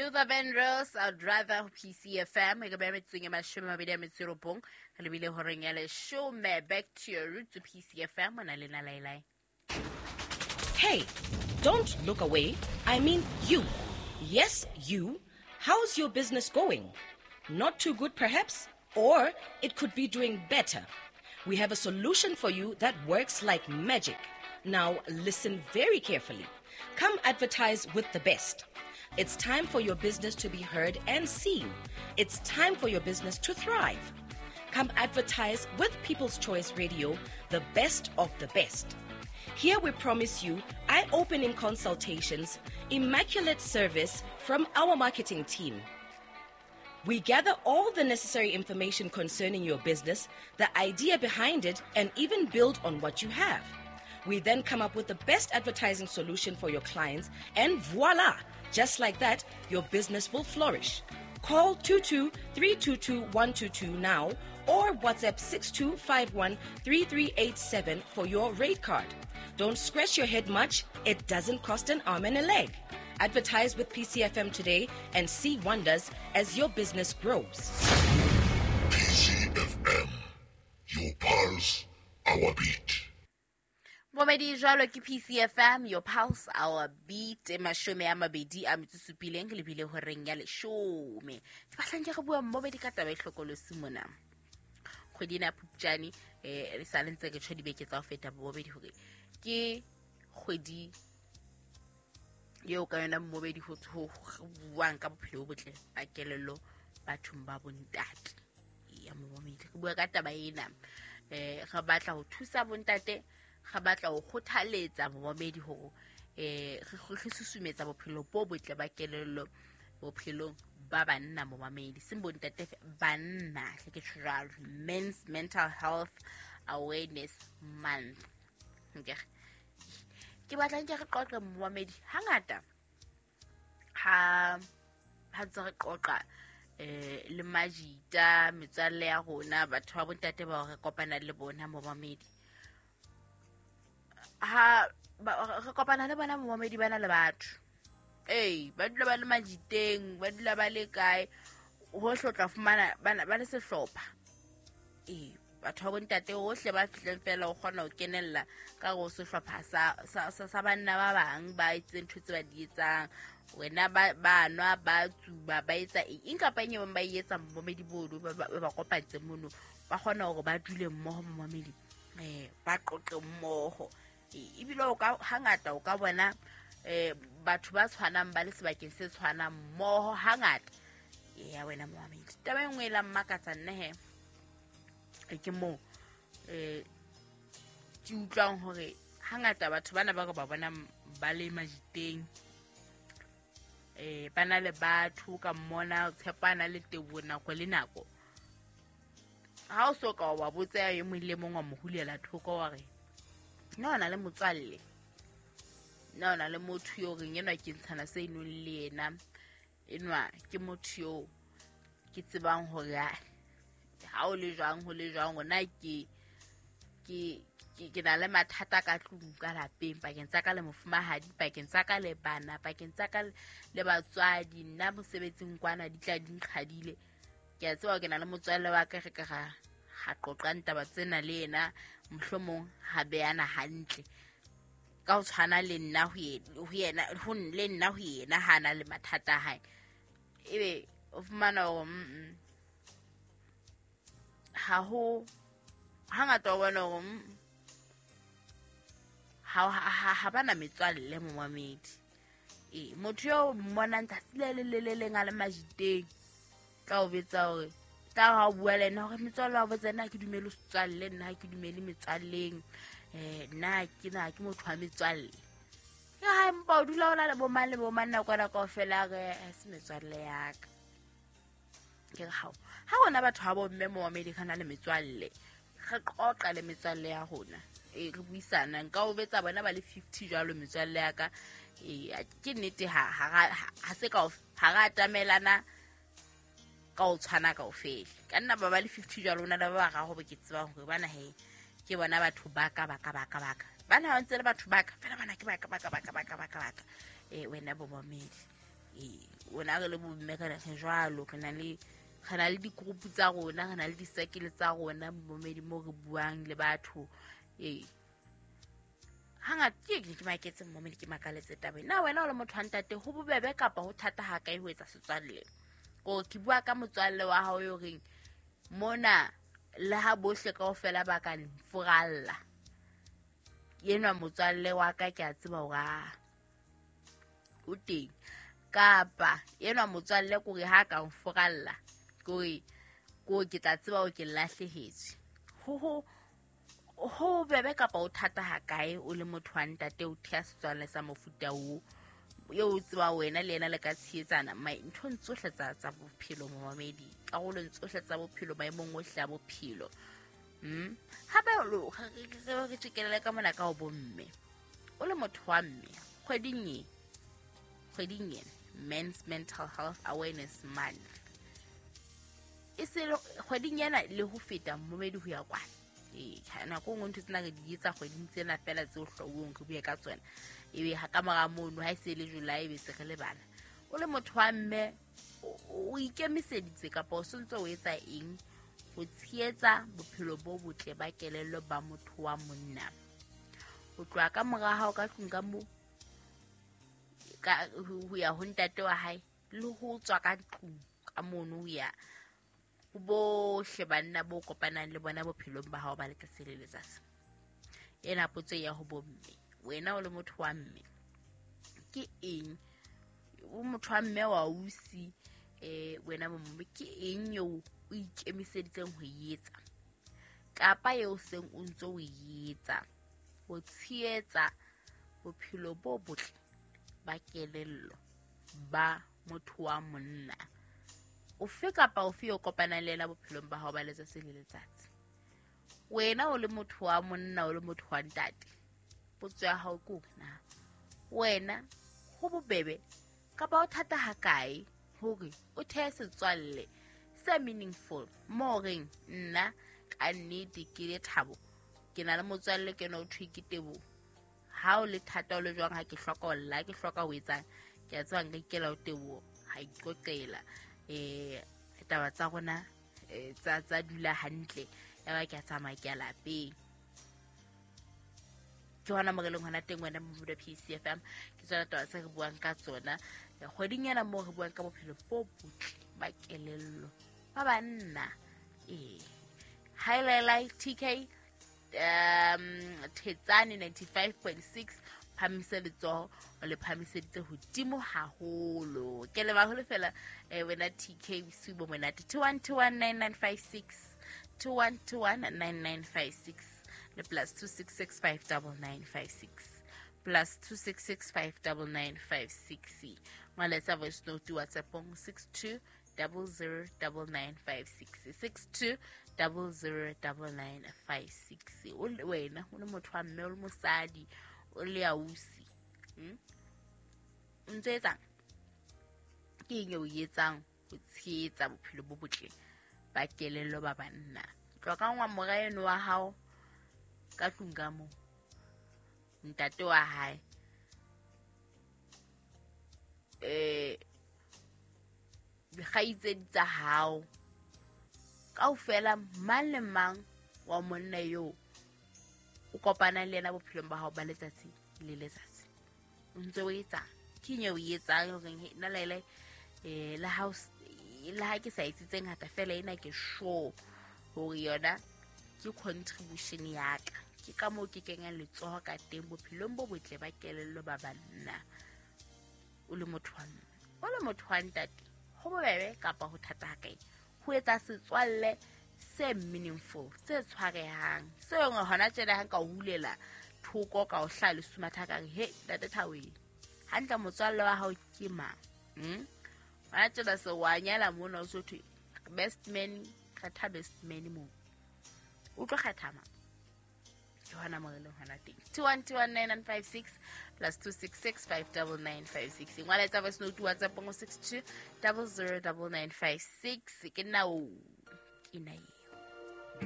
Luther Vandross, I'd rather PCFM. E ka beha metsotsong e 29 re lebile horeng ya 10. Back to your roots, PCFM. O na le na laelae. Hey, don't look away. I mean you. Yes, you. How's your business going? Not too good, perhaps? Or it could be doing better. We have a solution for you that works like magic. Now, listen very carefully. Come advertise with the best. It's time for your business to be heard and seen. It's time for your business to thrive. Come advertise with People's Choice Radio, the best of the best. Here we promise you eye opening consultations, immaculate service from our marketing team. We gather all the necessary information concerning your business, the idea behind it, and even build on what you have. We then come up with the best advertising solution for your clients, and voila! Just like that, your business will flourish. Call 22 322 122 now or WhatsApp 6251 3387 for your rate card. Don't scratch your head much, it doesn't cost an arm and a leg. Advertise with PCFM today and see wonders as your business grows. PCFM, your pulse, our beat. Momedi jwalo ke PCFM, your pulse, our beat. 27 lebile horeng ya 10. Ke batlang ke re bua mmobedi ka taba e hlokolosi mona. Kgwedi ena ya Phupjane, re sa le ntse re tjho dibeke tsa ho feta bobedi hore ke kgwedi eo ka yona mmobedi ho buang ka bophelo bo botle ba kelello bathong ba bontate. Ya momedi re bua ka taba ena. Re batla ho thusa bontate, re batla ho kgothaletsa momedi hore re susumetsa bophelo bo botle ba kelello bophelong ba banna momedi, seng bontate banna, ke tjho jwalo, Men's Mental Health Awareness Month. Ke batla nke re qoqe momedi hangata ha ntse re qoqa le majita metswalle ya rona, batho ba bontate ba re kopana le bona momedi, ha re kopana le bona momedi bana le batho ba dula ba le majiteng, ba dula ba le kae hohle, o tla fumana ba le sehlopha. Batho ba bontate hohle ba fihleng fela o kgona ho kenella ka go sehlopha sa banna ba bang ba etseng ntho tse ba di etsang. Wena ba nwa, ba tsuba, ba etsa eng kapa eng e bang ba e etsa momedi bono ba kopantse mono, ba kgona hore ba dule mmoho momedi, ba qoqe mmoho. Ebile o ka hangata o ka bona batho ba tshwanang ba le sebakeng se tshwanang mmoho hangata. Ya wena momedi, taba e nngwe e la mmakatsa nna he ke moo ke utlwang hore hangata batho bana ba re ba bona ba le majiteng, ba na le batho ka mmona tshepana le tebo nako le nako. Ha o so ka wa botsa e mong le mong wa mo hulela thoko wa re nna o na le motswalle, nna o na le motho yo reng enwa ke ntshana se inong le yena, enwa ke motho yo ke tsebang hore ha o le jwang ho le jwang, ona ke na le mathata ka tlung ka lapeng, pakeng tsa ka le mofumahadi, pakeng tsa ka le bana, pakeng tsa ka le batswadi, nna mosebetsing kwana di tla di nqhadile. Ke a tseba ke na le motswalle wa ka, re ka ra qoqang taba tsena le yena, mohlomong ha beana hantle ka ho tshwana le nna ho yena, ho le nna ho yena ha na le mathata a hae. Ebe o fumana hore ha ho hangata o bona hore ha bana metswalle momamedi. Motho yo mmonang tsatsi le le le leng a le majiteng, tla o betsa hore tla ha o bua le yena hore metswalle wa botsa nna ha ke dumele setswalle, nna ha ke dumele metswalleng, nna ke na ke motho wa metswalle. Ke ha empa o dula o na le bomang le bomang nakwana kaofela, re se metswalle ya ka. Ke re hao ha rona batho ha bo mme momamedi re na le metswalle, re qoqa le metswalle ya rona, re buisana. Nka o betsa bona ba le 50 jwalo metswalle ya ka. Ke nnete ha se ka ha ra atamelana ka o tshwana kaofela. Ka nna ba le 50 jwalo, ona le ba bararo bo ke tsebang hore bana he ke bona batho ba ka ba ka ba ka ba ka. Bana ba ntse le batho ba ka fela, bana ke ba ka ba ka ba ka ba ka ba ka ba ka. Wena bo momedi, Rona re le bomme re jwalo, re na le di-group tsa rona, re na le di-circle tsa rona momedi mo re buang le batho. Ee, hangata ke maketse momedi, ke makaletse taba na wena o le motho wa ntate ho bobebe kapa ho thata ha kae ho etsa setswalle? Ko ke bua ka motswalle wa hao yo reng mona le ha bohle kaofela ba ka nfuralla, enwa motswalle wa ka ke a tseba hore o teng, kapa enwa motswalle kore ha ka nfuralla kore ko ke tla tseba hore ke lahlehetswe. Ho bebe kapa o thata ha kae o le motho wa ntate o thea setswalle sa mofuta oo eo o tseba wena le yena le ka tshehetsana nthong tsohle tsa bophelo momamedi, karolong tsohle tsa bophelo, maemong ohle a bophelo. Hape re tjekelele ka mona ka ho bomme. O le motho wa mme, kgweding ena Men's Mental Health Awareness Month, e se kgweding ena le ho feta momedi ho ya kwana. Nako nngwe ntho tsena re di etsa kgweding tsena fela tseo hloohong re bue ka tsona, ebe ha ka mora mono ha e se le July ebe se re lebala. O le motho wa mme o ikemiseditse kapa o sontse o etsa eng ho tshehetsa bophelo bo botle ba kelello ba motho wa monna? O tloha ka mora hao ka tlung ka mo ka ho ya ho ntate wa hae le ho tswa ka tlung ka mono ho ya ho bohle banna bo kopanang le bona bophelong ba hao ba letsatsi le letsatsi. Ena potso ya ho bomme, wena o le motho wa mme ke eng? O motho wa mme wa ausi, wena bomme ke eng eo o ikemiseditseng ho etsa kapa eo seng o ntso o etsa ho tshehetsa bophelo bo botle ba kelello ba motho wa monna ofe kapa ofe yo kopanang le yena bophelong ba hao ba letsatsi le letsatsi? Wena o le motho wa monna, o le motho wa ntate, potso ya hao ke hore na wena ho bobebe kapa o thata ha kae hore o thehe setswalle se meaningful mo reng nna ka nnete ke le Thabo, ke na le motswalle ke ena o thwe ke Teboho. Ha o le thata o le jwang, ha ke hloka ho lla, ke hloka ho etsang, ke a tseba nka ikela ho Teboho, ha iqoqela taba tsa rona tsa dula hantle, ya ba ke a tsamaya ke ya lapeng. Ke hona mo re leng hona teng wena Mobuda PCFM, ke tsona taba tse re buang ka tsona kgweding ena moo re buang ka bophelo bo botle ba kelello ba banna. Highlight TK Thetsane 95.6, phamise letsoho o le phamiseditse hodimo haholo. Ke leba holo fela wena TK, bosiu bo monate. 21219956, 21219956 le +266 59956, +266 59956. Ngwaletsa voice note WhatsAppong 62 009956, 62 009956. O le wena o le motho wa mme, o le mosadi, o le ausi, o ntso etsang? Ke eng eo o etsang ho tshehetsa bophelo bo botle ba kelello ba banna? Tloha ka ngwa mora eno wa hao ka tlung ka moo, ntate wa hae, dikgaitsedi tsa hao kaofela, mang le mang wa monna eo o kopanang le yena bophelong ba hao ba letsatsi le letsatsi, o ntse o etsang? Ke eng eo o etsang horeng nna lele le ha ke sa etse tse ngata fela, ena ke sure hore yona ke contribution ya ka, ke ka moo ke kenyang letsoho ka teng bophelong bo botle ba kelello ba banna. O le motho wa mme, o le motho wa ntate, ho bobebe kapa ho thata ha kae ho etsa setswalle se meaningful, se tshwarehang, seo hona tjena ha nka o hulela thoko ka o hlaha lesumatha ka re he ntate Thabo, hantle motswalle wa hao ke mang? Hona tjena se wa nyala mona, o so thwe best man, kgetha best man moo, o tlo kgetha mang? Ke hona mo re leng hona teng. 21219956, +266 59956. Ngwala etsa voice note WhatsApp ngo 62 009956. Ke nna o, ke nna e.